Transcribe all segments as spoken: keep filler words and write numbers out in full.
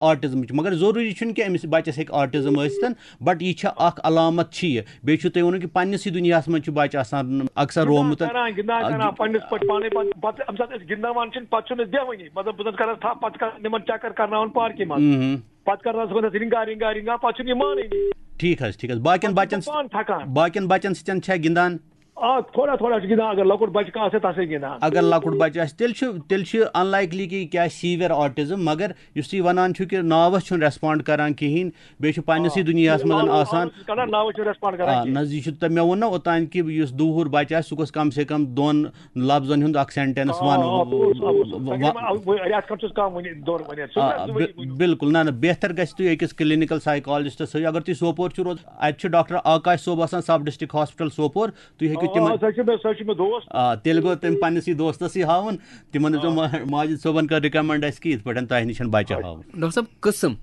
آٹزمٕچ، مگر ضروٗری چھُنہٕ کہِ أمِس بَچَس ہیٚکہِ آٹزم ٲسِتھ، بٹ یہِ چھےٚ اَکھ علامت چھِ یہِ۔ بیٚیہِ چھُو تُہۍ ووٚنوُ کہِ پننِسٕے دُنیاہَس منٛز چھُ بَچہٕ آسان اکثر رومُت۔ کران گِنٛدان آ، کران گِ- پننِس پٲٹھۍ پانے پتہٕ پتہٕ ییٚمہِ ساتہٕ أسۍ گِنٛدان چھِنہٕ پتہٕ چھُنہٕ أسۍ بیٚہوٲنی، مطلب بہٕ زَن کران تھپھ، پتہٕ چھِ کران تِمن چکر کرناوان پارکہِ منٛز۔ مہم۔ پتہٕ کرناوان صُبحن أسۍ رِنٛگا رِنٛگا رِنٛگا، پتہٕ چھُنہٕ یہِ مانٲنی۔ ٹھیٖک حظ، ٹھیٖک حظ۔ باقین پتہٕ چھُ بَچَن سُہ پانہٕ تھکان۔ باقین بَچَن سۭتۍ چھا گِنٛدان؟ آ، تھوڑا تھوڑا چھُ گِنٛدان، اگر لۄکُٹ بَچہٕ کانٛہہ آسہِ تَتھ سۭتۍ گِنٛدان۔ اگر لۄکُٹ بَچہٕ آسہِ، تیٚلہِ چھُ تیٚلہِ چھُ unlikely کہِ یہِ کیٛاہ آسہِ severe autism، مگر یُس تُہۍ وَنان چھُو کہِ ناوَس چھُنہٕ respond کران کِہیٖنۍ، بیٚیہِ چھُ پننِسٕے دُنیاہَس منٛز آسان۔ کران ناوَس چھُنہٕ respond کران آ، کِہیٖنۍ۔ نہ، یہِ چھُ تۄہہِ، مےٚ ووٚن نہ اوٚتانۍ کہِ یُس دوٗر بَچہٕ آسہِ، سُہ گوٚژھ کم سے کم دۄن لفظن ہُنٛد اکھ sentence آ، وَنُن۔ آ، پوٚز، آ، پوٚز۔ و- اگر و- وۄنۍ اَکھ رٮ۪تھ کھنٛڈ چھُس کم وُنہِ، دۄن ؤنِتھ، سُہ آ، کَتھ زٕ بِ- ؤری ؤنِو۔ بِلکُل، نہ نہ، بہتر گژھِ تُہۍ أکِس clinical psychologist سۭتۍ۔ اگر تُہۍ سوپور چھِو روزان، اَتہِ چھُ ڈاکٹر آکاش صٲب آسان، sub district hospital سوپور، تُہۍ ہیٚکِو آ، تِمن۔ آ، سۄ چھِ مےٚ، سۄ چھِ مےٚ دوست۔ آ، تیٚلہِ گوٚو تٔمۍ پننِسٕے دوستسٕے ہاوُن، تِمن دِژو ما-، ماجد صٲبن کٔر recommend اَسہِ کہِ یِتھ پٲٹھۍ تۄہہِ نِش بچہِ ہاوُن۔ ڈاکٹر صٲب، قٕسم،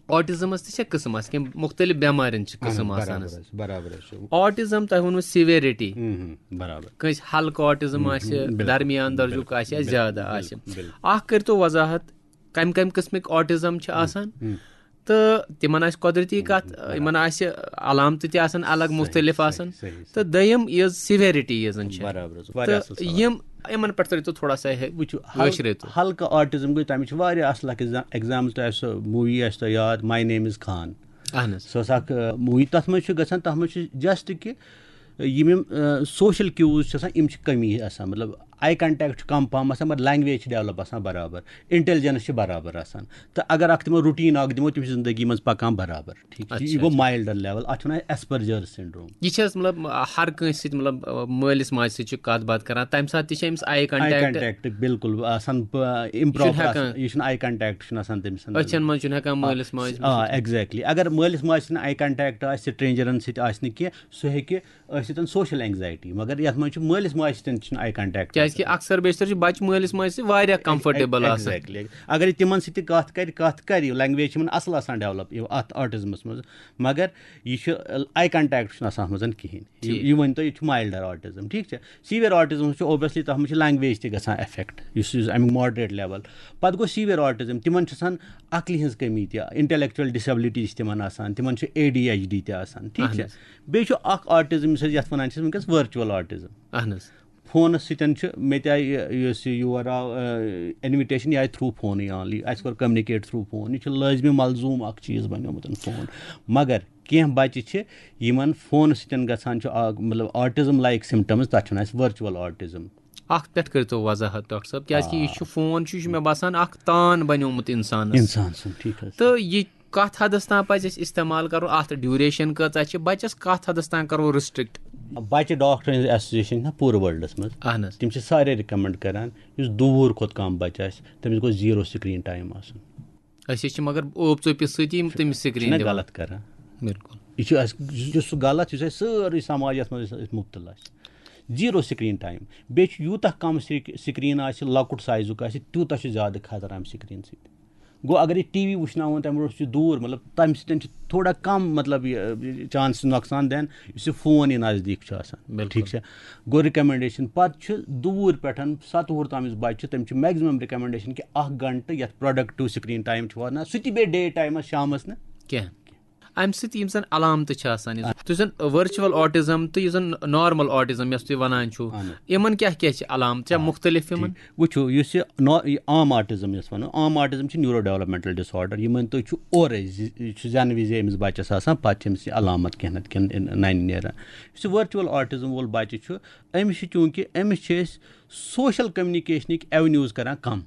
آٹزمس تہِ چھےٚ قٕسم آسان، کینٛہہ مُختٔلِف بٮ۪مارٮ۪ن چھِ قٕسم آسان برابر حظ۔ حظ، برابر حظ چھُ۔ آٹزم تۄہہِ ووٚنوُ severity، ہم، ہم، برابر۔ کٲنٛسہِ ہلکہٕ آٹزم آسہِ، بِلکُل۔ درمیان درجُک بِلکُل، آسہِ یا بِلکُل، زیادٕ بِلکُل، آسہِ۔ بِلکُل۔ اکھ کٔرۍتو وضاحت، کمہِ کمہِ قٕسمٕکۍ آٹزم چھِ آسان؟ تہٕ تِمن آسہِ قۄدرٔتی کتھ، یِمن آسہِ علامتہٕ تہِ آسان الگ، مُختٔلِف آسان۔ صحیح، صحیح۔ تہٕ دوٚیِم یِژھ severity یِژھ زن چھِ۔ برابر حظ، واریاہ تہٕ اَصٕل سوال۔ یِم یِمن پٮ۪ٹھ ترٲیتو تھوڑا سا ہے-، وٕچھِو، کٲشرِ ہل- تہٕ۔ ہلکہٕ آٹزم گٔے، تَمِچ چھِ واریاہ اَصٕل اَکھ ایگزا-، example تۄہہِ آسہِ سۄ movie آسہِ تۄہہِ یاد، My Name Is Khan۔ اہن حظ۔ سۄ ٲس اَکھ، آ، movie، تَتھ منٛز چھُ گژھان، تَتھ منٛز چھُ just کہِ یِم یِم، آ، social cues چھِ آسان، یِم چھِ کمی آسان، مطلب eye contact چھُ کم پہم آسان، مگر language چھِ develop آسان برابر، intelligence چھِ برابر آسان۔ تہٕ اگر اَکھ تِمن routine اَکھ دِمو، تِم چھِ زندگی منٛز پَکان برابر۔ ٹھیٖک چھُ؟ اچھا، یہِ گوٚو اچھا۔ milder level، اَتھ چھِ وَنان Asperger syndrome۔ یہِ چھِ حظ مطلب ہر کٲنٛسہِ سۭتۍ، مطلب مٲلِس ماجہِ سۭتۍ چھِ کَتھ باتھ کران، تَمہِ ساتہٕ تہِ چھِ أمِس eye آی contact۔ کنٹیکٹ بالکل آسان، پ- improper ہٮ۪کان۔ آسان، یہِ چھُنہٕ آی کنٹیکٹ چھُنہٕ آسان تٔمِس اندر۔ أچھن منٛز چھُنہٕ ہٮ۪کان مٲلِس ماجہِ آ، وٕچھِتھ۔ exactly۔ اگر مٲلِس ماجہِ سۭتۍ آی کنٹیکٹ آسہِ، stranger سۭتۍ آسہِ نہٕ کینٛہہ، سُہ ہیٚکہِ أسۍ سۭتۍ social anxiety، مگر یَتھ منٛز چھُ مٲلِس ماجہِ سۭتۍ چھُنہٕ آی کنٹیکٹ۔ کیازِ کہِ اکثر بیشتر چھِ بچہِ مٲلِس ماجہِ سۭتۍ واریاہ comfortable آسان۔ Exactly۔ اگر یہِ تِمن سۭتۍ تہِ کَتھ کرِ، کَتھ کرِ، language چھِ یِمن اصل آسان develop یہِ اتھ آٹزمس منٛز، مگر یہِ چھُ آی کنٹیکٹ چھُنہٕ آسان اتھ منٛز کِہینۍ۔ یہِ ٹھیٖک۔ یہِ ؤنۍ تو، یہِ چھُ milder autism، ٹھیٖک چھا؟ Severe autism چھُ obviously تَتھ منٛز چھُ language تہِ گژھان affect، یُس یُس اَمیُک moderate level۔ پتہٕ گوٚو severe autism، تِمن چھُ آسان عقلہِ ہٕنٛز کٔمی تہِ، intellectual disability چھِ تِمن آسان، تِمن چھُ اے ڈی ایچ ڈی تہِ آسان، ٹھیٖک اہن چھا؟ حظ۔ بیٚیہِ چھُ اکھ autism یُس أسۍ یتھ ونان چھِ وٕنکیٚس virtual autism۔ اہن حظ۔ فونس سۭتۍ چھُ مےٚ تہِ آیہِ یہِ، یُس یہِ یور آو، آ، invitation، یہِ آیہِ through فونٕے only، اَسہِ کوٚر communicate through فون۔ یہِ چھُ لٲزمِ ملزوٗم اکھ چیٖز بنیومُت فون۔ مگر کینٛہہ بچہِ چھِ یِمن فونس سۭتۍ گژھان چھُ آ-، مطلب autism like symptoms، تتھ چھُ وَنان أسۍ virtual autism۔ اکھ پٮ۪ٹھ کٔرتو وضاحت ڈاکٹر صٲب، کیازِ کہِ یہِ چھُ فون چھُ، یہِ چھُ مےٚ باسان اکھ تان بنیومُت انسانس۔ انسان سُنٛد، ٹھیٖک حظ۔ تہٕ یہِ کتھ حدس تام پزِ اَسہِ استعمال کرُن، اتھ duration کۭژاہ چھِ، بچس کتھ حدس تام کرو restrict؟ بچہِ ڈاکٹر ہٕنٛز association چھِ نہ پوٗرٕ worldس منٛز۔ اہن حظ۔ تِم چھِ سارے recommend کران، یُس دوٗر کھۄتہٕ کم بچہِ آسہِ، تٔمِس گوٚژھ zero screen time آسُن۔ أسۍ حظ چھِ مگر اوپ ژوپہِ سۭتی یِم تٔمِس screen چھِنہ دِوان۔ غلط کران؟ بِلکُل۔ یہِ چھُ اَسہِ، یُس سُہ غلط، یُس اَسہِ سٲرٕے سماج یَتھ منٛز أسۍ، أسۍ مُبتلا چھِ۔ Zero screen time۔ بیٚیہِ چھُ یوٗتاہ کم سِک-، screen آسہِ، لۄکُٹ سایزُک آسہِ، تیوٗتاہ چھُ زیادٕ خطرٕ اَمہِ screen سۭتۍ۔ گوٚو اگر یہِ ٹی وی وٕچھناوون تَمہِ برونٛٹھ چھُ دوٗر، مطلب تَمہِ سۭتۍ چھُ تھوڑا کم، مطلب یہِ، یہِ chance نۄقصان دِنہٕ، یُس یہِ فون یہِ نزدیٖک چھُ آسان۔ بِلکُل۔ ٹھیٖک چھا؟ گوٚو recommendation۔ پتہٕ چھُ دوٗر پٮ۪ٹھ ستہٕ وُہُر تام یُس بچہِ چھُ، تٔمِس چھُ maximum recommendation کہِ اکھ گھنٹہٕ یَتھ productive screen time چھُ وَنان، سُہ تہِ بیٚیہِ day timeس شامس نہٕ۔ کینٛہہ۔ امہِ سۭتۍ یِم زن علامتہٕ چھِ آسان، یُس، یُس زن virtual autism تہٕ یُس زن normal autism یۄس تُہۍ ونان چھِو، اہن حظ۔ یِمن کیٛاہ کیٛاہ چھِ علامتہٕ؟ چھا مُختلف یِمن؟ وٕچھِو، یُس یہِ نا-، یہِ عام autism یۄس ونو، عام autism چھِ neuro developmental disorder، یہِ مٲنۍ تو چھُ اورے زِ-، یہِ چھُ زٮ۪نہٕ وِزے أمِس بچس آسان، پتہٕ چھِ أمِس یہِ علامت کینٛہہ نتہٕ کینٛہہ ننہِ نیران۔ یُس یہِ virtual autism وول بچہِ چھُ، أمِس چھِ چوٗنٛکہِ، أمِس چھِ أسۍ social communicationٕکۍ avenues کران کم۔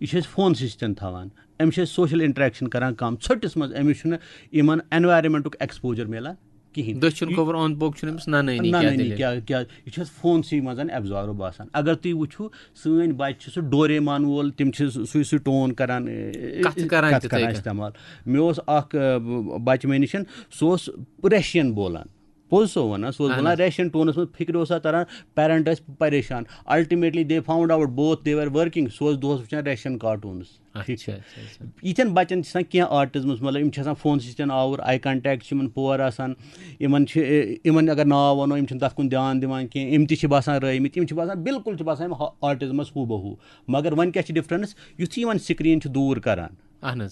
یہِ چھِ أسۍ فونسٕے سۭتۍ تھاوان۔ أمِس چھِ أسۍ social interaction کران کم۔ ژھٔٹِس منٛز أمِس چھُنہٕ یِمن environmentُک exposure میلان کِہینۍ۔ دٔچھُن کھووُر اوٚنٛد پوٚک چھُنہٕ أمِس ننٲنی نہ، کیٛاہ نہ، نہ، دٔلیٖل۔ کیٛاہ، کیٛاہ، یہِ چھُ اَسہِ فونسٕے منٛز absorb آسان۔ اگر تُہۍ وٕچھِو، سٲنۍ بچہِ چھِ سُہ ڈوریمان وول، تِم چھِ سُہ، سُے، سُے tone کران، اے، کتھٕ کران کتھٕ تِتھَے کران کٔنۍ۔ استعمال۔ مےٚ اوس اکھ، اے، بچہِ مےٚ نِش، سُہ اوس Russian بولان۔ پوٚز سو وَنان، سُہ اوس اہن وَنان حظ۔ Russian toneس منٛز، فِکرِ اوس اَتھ تَران، parent ٲسۍ پریشان۔ Ultimately they found out both they were working، سُہ اوس دۄہَس وٕچھان Russian cartoons۔ ٹھیٖک چھا؟ اچھا، اچھا۔ یِتھٮ۪ن بَچَن چھِ آسان کینٛہہ autismس، مطلب، یِم چھِ آسان فونسٕے سۭتۍ آوُر، eye contact چھِ یِمَن poor آسان، یِمَن چھِ، یِمَن اگر ناو وَنو، یِم چھِنہٕ تَتھ کُن دھیان دِوان کینٛہہ، یِم تہِ چھِ باسان رٲومٕتۍ، یِم چھِ باسان بِلکُل چھِ باسان یِم autismس ہُہ بہ ہُہ۔ مگر وۄنۍ کیٛاہ چھِ difference؟ یُتھُے یِمَن screen چھِ دوٗر کَران، اہن حظ۔